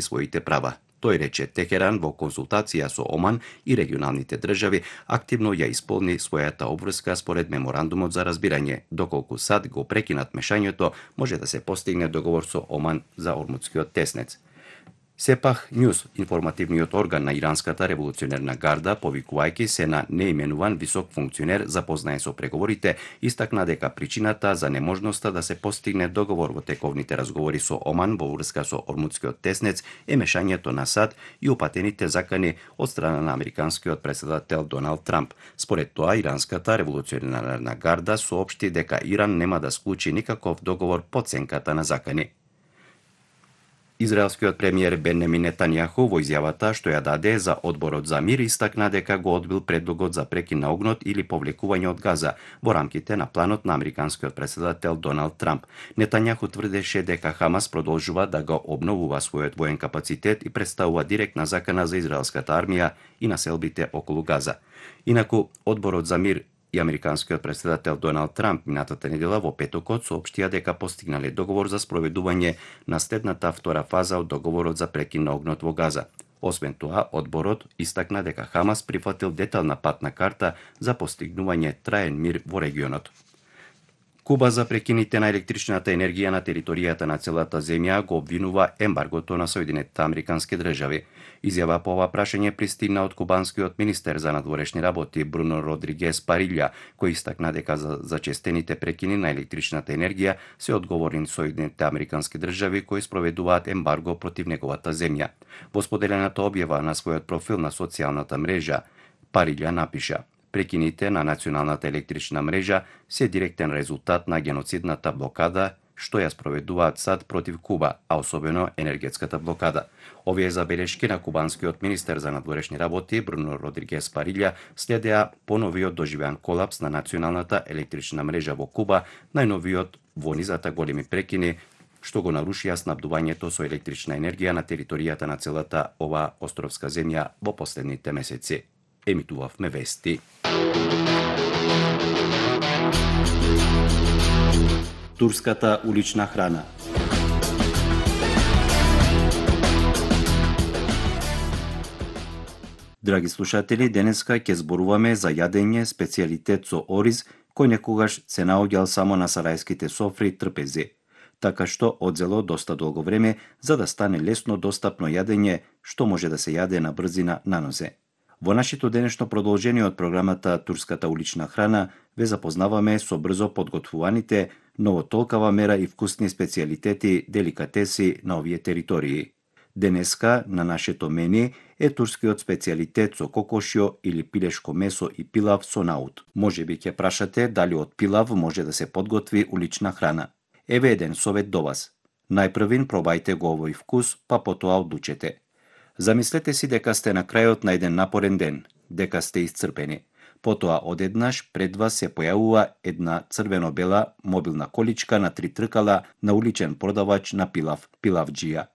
своите права. Тој рече Техеран во консултација со Оман и регионалните држави активно ја исполни својата обврска според меморандумот за разбирање. Доколку САД го прекинат мешањето, може да се постигне договор со Оман за Ормудскиот теснец. Сепах Ньюс, информативниот орган на Иранската револуционерна гарда, повикувајќи се на неименуван висок функционер запознае со преговорите, истакна дека причината за неможноста да се постигне договор во тековните разговори со Оман во врска со Ормудскиот теснец е мешањето на САД и упатените закани од страна на американскиот претседател Доналд Трамп. Според тоа, Иранската револуционерна гарда соопшти дека Иран нема да склучи никаков договор по ценката на закани. Израелскиот премиер Бенјамин Нетањаху во изјавата што ја даде за Одборот за мир истакна дека го одбил предлогот за прекин на огнот или повлекување од Газа во рамките на планот на американскиот претседател Доналд Трамп. Нетањаху тврдеше дека Хамас продолжува да го обновува својот воен капацитет и представува директна закана за израелската армија и населбите околу Газа. Инаку, Одборот за мир и американскиот претседател Доналд Трамп минатата недела во петокот соопштија дека постигнале договор за спроведување на следната втора фаза од договорот за прекин на огнот во Газа. Освен тоа, одборот истакна дека Хамас прифатил детална патна карта за постигнување траен мир во регионот. Куба за прекините на електричната енергија на територијата на целата земја го обвинува ембаргото на Соединетите Американски држави. Изјава по ова прашање пристигна од кубанскиот министер за надворешни работи Бруно Родригес Парилја, кој истакна дека за зачестените прекини на електричната енергија се одговорни Соединетите Американски држави кои спроведуваат ембарго против неговата земја. Во споделената објава на својот профил на социјалната мрежа, Парилја напиша: Прекините на националната електрична мрежа се директен резултат на геноцидната блокада што ја спроведуваат САД против Куба, а особено енергетската блокада. Овие забелешки на кубанскиот министер за надворешни работи Бруно Родригес Парилја следеа поновиот доживеан колапс на националната електрична мрежа во Куба, најновиот во низата големи прекини што го нарушија снабдувањето со електрична енергија на територијата на целата ова островска земја во последните месеци. Емитувавме вести. Турската улична храна. Драги слушатели, денеска ќе зборуваме за јадење специјалитет со ориз, кој некогаш се наоѓал само на сарајските софри трпези. Така што одзело доста долго време за да стане лесно достапно јадење што може да се јаде на брзина на нозе. Во нашето денешно продолжение од програмата Турската улична храна ве запознаваме со брзо подготвуваните, но во толкава мера и вкусни специјалитети, деликатеси на овие територии. Денеска на нашето мени е турскиот специјалитет со кокошјо или пилешко месо и пилав со наут. Можеби ќе прашате дали од пилав може да се подготви улична храна. Еве еден совет до вас. Најпрвин пробајте го овој вкус, па потоа одлучете. Замислете си дека сте на крајот на еден напорен ден, дека сте исцрпени. Потоа одеднаш пред вас се појавува една црвено-бела мобилна количка на 3 тркала на уличен продавач на пилав, пилавџија.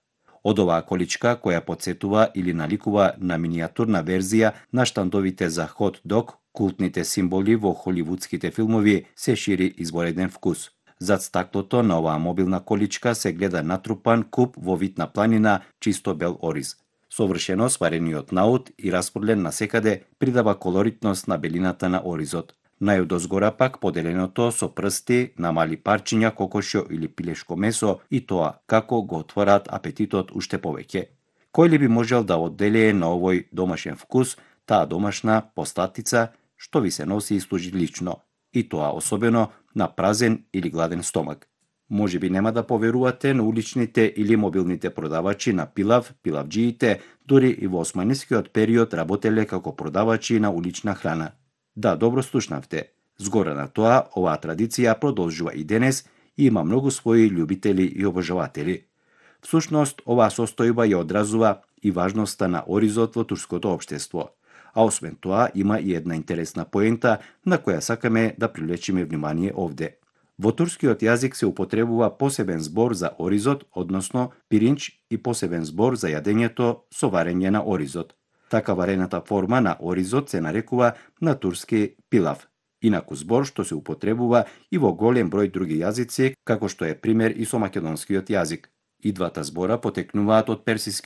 Од оваа количка, која потсетува или наликува на минијатурна верзија на штандовите за хот дог, култните символи во холивудските филмови, се шири извореден вкус. Зад стаклото на оваа мобилна количка се гледа натрупан куп во вид на планина, чисто бел ориз. Совршено сварениот наут и распорлен насекаде придава колоритност на белината на оризот. Најодозгора пак поделеното со прсти на мали парчиња кокошјо или пилешко месо и тоа како го отвораат апетитот уште повеќе. Кој ли би можел да одделее на овој домашен вкус, таа домашна постатица што ви се носи и служи лично, и тоа особено на празен или гладен стомак. Може би нема да поверувате на уличните или мобилните продавачи на пилав, пилавџиите, дури и во османискиот период работеле како продавачи на улична храна. Да, добро слушнавте. Згора на тоа, оваа традиција продолжува и денес и има многу своји љубители и обожаватели. Всушност, оваа состојба ја одразува и важноста на оризот во турското општество. А освен тоа, има и една интересна поента на која сакаме да привлечиме внимание овде. Во турскиот јазик се употребува посебен збор за оризот, односно пиринч, и посебен збор за јадењето со варење на оризот. Така варената форма на оризот се нарекува на турски пилав. Инаку збор што се употребува и во голем број други јазици, како што е пример и со македонскиот јазик. И двата збора потекнуваат од персискиот